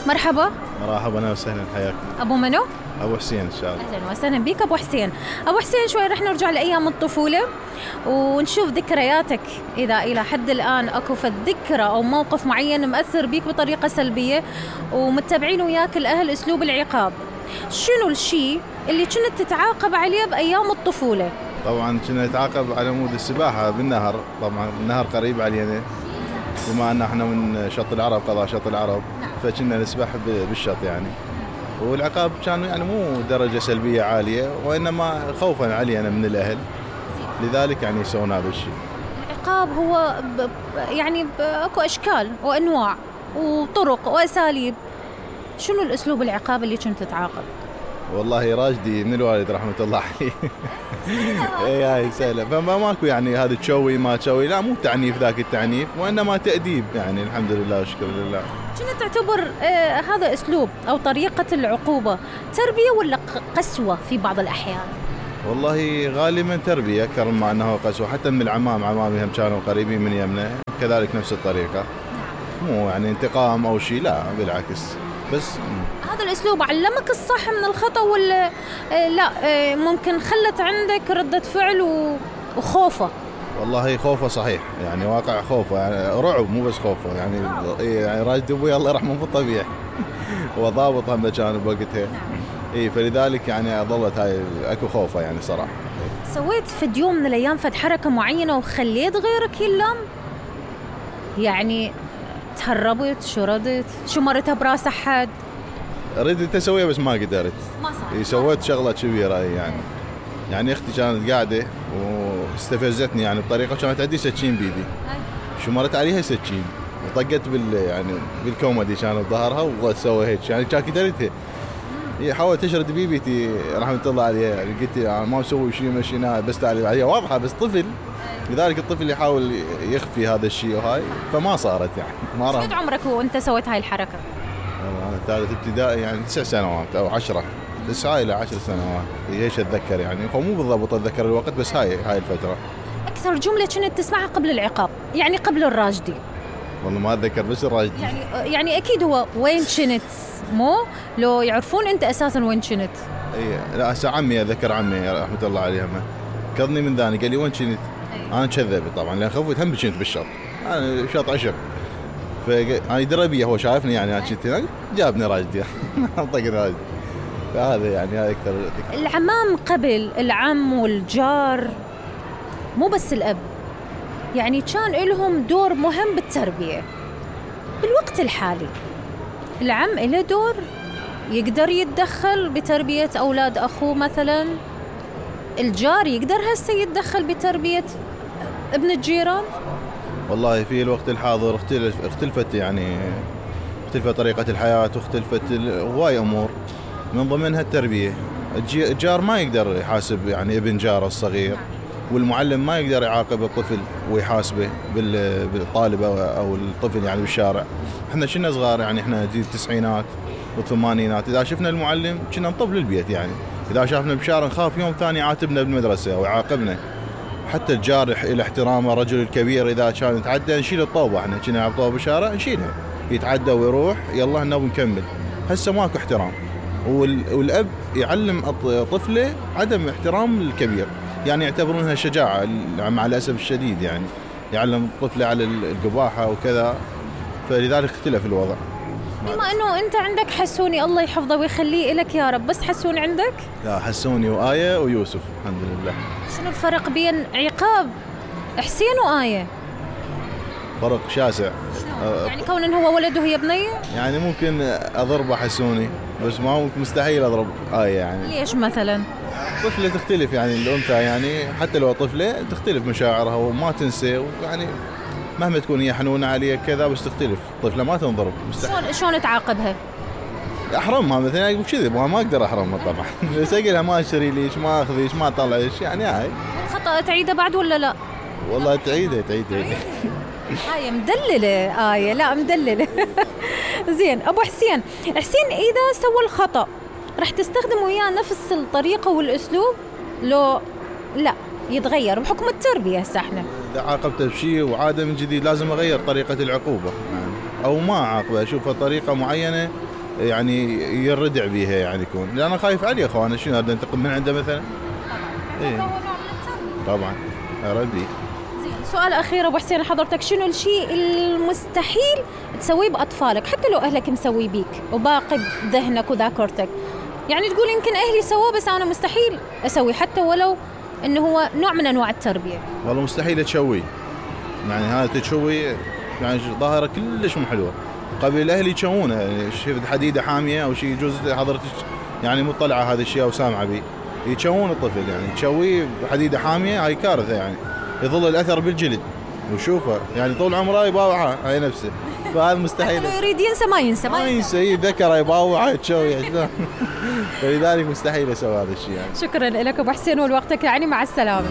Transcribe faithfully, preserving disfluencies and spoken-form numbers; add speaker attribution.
Speaker 1: مرحبا.
Speaker 2: مرحبا، اهلا وسهلا، حياك.
Speaker 1: ابو منو؟
Speaker 2: ابو حسين ان شاء الله.
Speaker 1: اهلا وسهلا بك ابو حسين. ابو حسين شوي رح نرجع لايام الطفوله ونشوف ذكرياتك، اذا الى حد الان اكو فد ذكرى او موقف معين مأثر بيك بطريقه سلبيه ومتبعين وياك الاهل اسلوب العقاب. شنو الشيء اللي كنت تتعاقب عليه بايام الطفوله؟
Speaker 2: طبعا كنا نتعاقب على مود السباحه بالنهر، طبعا النهر قريب علينا بما ان احنا من شط العرب، قضاء شط العرب، فكنا نسبح بالشط يعني. والعقاب كان يعني مو درجه سلبيه عاليه، وانما خوفا علينا من الاهل، لذلك يعني سوينا هذا الشيء.
Speaker 1: العقاب هو ب... يعني اكو اشكال وانواع وطرق واساليب. شنو الاسلوب العقاب اللي كنت تتعاقب؟
Speaker 2: والله راجدي من الوالد رحمه الله عليه. اي هاي سهله، فما ماكو يعني هذا تشوي ما تشوي، لا مو تعنيف ذاك التعنيف، وانما تاديب يعني. الحمد لله والشكر لله.
Speaker 1: كنت تعتبر آه هذا اسلوب او طريقه العقوبه تربيه ولا قسوه في بعض الاحيان؟
Speaker 2: والله غالبا تربيه اكثر مما انه قسوه، حتى من العمام، عمامي هم كانوا قريبين من يمنا كذلك نفس الطريقه. مو يعني انتقام او شيء، لا بالعكس. بس
Speaker 1: هذا الاسلوب علمك الصح من الخطا ولا آه لا آه ممكن خلت عندك رده فعل وخوفه؟
Speaker 2: والله خوفه صحيح، يعني واقع خوفه، يعني رعب مو بس خوفه يعني. يعني راشد ابوي الله يرحمه في الطبيعي هو ضابط هم كان بوقتها. اي فلذلك يعني ظلت هاي اكو خوفه يعني صراحه.
Speaker 1: سويت في يوم من الايام فد حركه معينه وخليت غيرك يلام؟ يعني تهربت، شردت، شمرتها براس احد؟
Speaker 2: ردت اسويها بس ما قدرت.
Speaker 1: ما صار.
Speaker 2: سويت شغله كبيره يعني. يعني اختي كانت قاعده واستفزتني يعني بطريقه، كانت عندي سكين بيدي، شمرت عليها سكين وطقت بال يعني بالكومدي كانت ظهرها وسوي هيك يعني، كان كدرتها. هي حاولت تشرد بيبيتي رحمه الله عليها يعني، قلت يعني ما مسوي شيء مشيناها بس تعالي عليها واضحه، بس طفل، لذلك الطفل يحاول يخفي هذا الشيء وهاي، فما صارت يعني. ما
Speaker 1: راح. قد عمرك وانت سويت هاي الحركه؟
Speaker 2: انا ثالث ابتدائي يعني تسع سنوات او عشرة، تسعة الى عشر سنوات، ايش اتذكر يعني، فمو بالضبط اتذكر الوقت، بس هاي هاي الفتره.
Speaker 1: اكثر جمله كنت تسمعها قبل العقاب يعني قبل الراجدي؟
Speaker 2: والله ما اتذكر بس الراجدي.
Speaker 1: يعني يعني اكيد هو وين كنت، مو لو يعرفون انت اساسا وين كنت.
Speaker 2: اي لا هسه عمي اتذكر، عمي رحمه الله عليه كضني من ذاني قال لي وين كنت؟ انا كذب طبعا لان خوفت هم كنت بالشط، انا شط عشب، فانا دربيه هو شايفني يعني انا كنت هناك جابني راجدي طقني راجدي. فهذا يعني هاي اكثر.
Speaker 1: العمام قبل، العم والجار مو بس الاب، يعني كان لهم دور مهم بالتربيه. بالوقت الحالي العم له دور، يقدر يتدخل بتربيه اولاد اخوه مثلا، الجار يقدر هسه يتدخل بتربيه ابن الجيران.
Speaker 2: والله في الوقت الحاضر اختلف اختلفت يعني اختلفت طريقه الحياه، واختلفت هواي امور من ضمنها التربيه. الجار ما يقدر يحاسب يعني ابن جاره الصغير، والمعلم ما يقدر يعاقب الطفل ويحاسبه بالطالب او الطفل يعني بالشارع. احنا كنا صغار يعني، احنا جيل التسعينات والثمانينات، اذا شفنا المعلم كنا نطب للبيت يعني، اذا شافنا بالشارع نخاف يوم ثاني يعاتبنا بالمدرسه او يعاقبنا. حتى الجار الى احترام الرجل الكبير، اذا كان يتعدى نشيل الطوبه، احنا كنا نلعب طوبه بالشارع نشيلها، يتعدى ويروح يلا هنا ونكمل. هسه ماكو احترام، والاب يعلم طفله عدم احترام الكبير، يعني يعتبرونها شجاعه مع الاسف الشديد يعني، يعلم طفله على القباحه وكذا، فلذلك اختلف الوضع.
Speaker 1: بما انه انت عندك حسوني الله يحفظه ويخليه لك يا رب، بس حسون عندك؟
Speaker 2: لا حسوني وآية ويوسف الحمد لله.
Speaker 1: شنو الفرق بين عقاب حسين وآية؟
Speaker 2: فرق شاسع.
Speaker 1: أه يعني كون إن هو ولد وهي بنية؟
Speaker 2: يعني ممكن اضربه حسوني، بس ما ممكن مستحيل اضرب آية يعني.
Speaker 1: ليش مثلا؟
Speaker 2: طفلة تختلف يعني، الأنثى يعني حتى لو طفلة تختلف مشاعرها وما تنسى يعني، مهما تكون هي حنونة عليك كذا بس تختلف، طفلة ما تنضرب مستحيل.
Speaker 1: شلون شلون تعاقبها؟
Speaker 2: احرمها مثلا، يقول كذب ما اقدر احرمها طبعا بس اقولها ما اشتري ليش، ما اخذيش، ما طلعش يعني. هاي
Speaker 1: الخطأ تعيده بعد ولا لا؟
Speaker 2: والله تعيده تعيده
Speaker 1: آية مدللة، آية لا مدللة زين أبو حسين، حسين إذا سوى الخطأ رح تستخدم وياه نفس الطريقة والأسلوب لو لا يتغير بحكم التربية؟ هسه احنا
Speaker 2: إذا عاقبته بشيء وعادة من جديد لازم أغير طريقة العقوبة يعني، أو ما أعاقبه، أشوفها طريقة معينة يعني يردع بيها يعني يكون، لأن أنا خايف عليه أخواني، شنو هذا انتقم من عنده مثلا؟
Speaker 1: إيه. هو نوع من التربية.
Speaker 2: طبعا أربي.
Speaker 1: زين، سؤال أخير أبو حسين حضرتك، شنو الشيء المستحيل تسويه بأطفالك حتى لو أهلك مسوي بيك وباقي بذهنك وذاكرتك؟ يعني تقول يمكن أهلي سووه بس أنا مستحيل أسوي، حتى ولو إنه هو نوع من أنواع التربية.
Speaker 2: والله مستحيل تشوي، يعني هذا تشوي يعني ظاهرة كلش مو حلوة. قبل الأهل يشوونه، يعني شفت حديدة حامية أو شيء يجوز حضرتك يعني مطلعة هذا الشيء أو سامعة به، يشوون الطفل يعني تشويه بحديدة حامية، هاي كارثة يعني، يظل الأثر بالجلد وشوفه يعني طول عمره يباوعها هاي نفسه، فهذا مستحيل.
Speaker 1: لو يريد ينسى ما ينسى
Speaker 2: ما ينسى ذكره يباوعها تشوي فلذلك مستحيل أسوي هذا الشيء يعني.
Speaker 1: شكرا لك أبو حسين ولوقتك، يعني مع السلامة.